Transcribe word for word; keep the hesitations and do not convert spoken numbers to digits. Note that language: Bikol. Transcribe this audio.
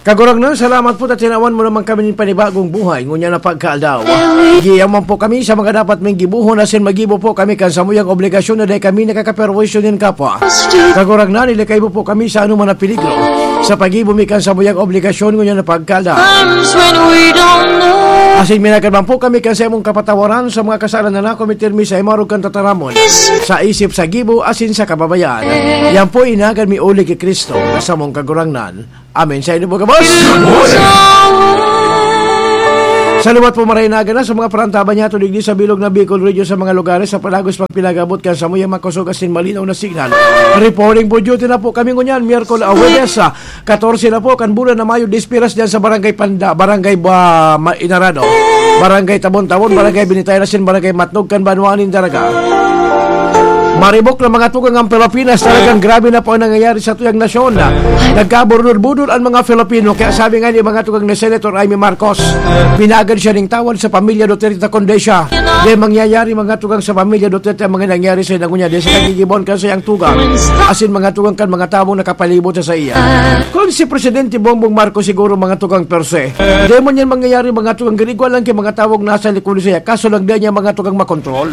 Kagurangnan, salamat po ta tinawan mo naman kami nin panibagong buhay ngunyan na pagkaaldaw. Giyaman po kami sa mga dapat ming gibuhon asin magibo po kami kan samuyang obligasyon na dai kami nakakaperwisyo nin kapwa. Kagurangnan, ilikay mo po kami sa anuman na peligro sa paggibo mi kan samuyang obligasyon ngunyan na pagkaaldaw. Asin minagad man po kami kan saimong kapatawaran sa mga kasalanan na kometer mi sa imarog kan tataramon, sa isip, sa gibo, asin sa kababayan. Yan po inaagad mi uli ki Cristo na samong Kagurangnan. Amen. Sa inyo po, gabos. Saluwat po, maray na gana sa mga parantaban niya, tulig di sa bilog na Bicol Radio sa mga lugares sa palagos pagpinagabot kan samuyang makosog asin malinaw na signal. Reporting for duty na po kami ngunyan, Miyerkules, ah, Huwebes, ah, katorse na po, kan bulan na Mayo, Despiras diyan sa Barangay Panda, Barangay Ba-, Ma-, Inarado, Barangay Tabon-Tabon, Barangay Binitayan asin Barangay Matnog, kan Banwaan nin Daraga. Maribok na mga tugang ang Pilipinas. Talagang grabe na po ang nangyayari sa tuyang nasyon. Nagkabudol-budol ang mga Pilipino. Kaya sabi nga ni mga tugang ni Senator Imee Marcos, pinaagad siya ning tawad sa pamilya Duterte kundi siya. Di mangyayari mga tugang sa pamilya Duterte ang mga nangyari sa inangunya. Di sa kagigibon kan sayang tugang. Asin mga tugang kan mga taong nakapalibot sa iya. Kung si Presidente Bongbong Marcos siguro mga tugang per se, di man yan mangyayari mga tugang, ginigwa lang kay mga taong nasa likod sa iya. Kaso lang di niya mga tugang makontrol.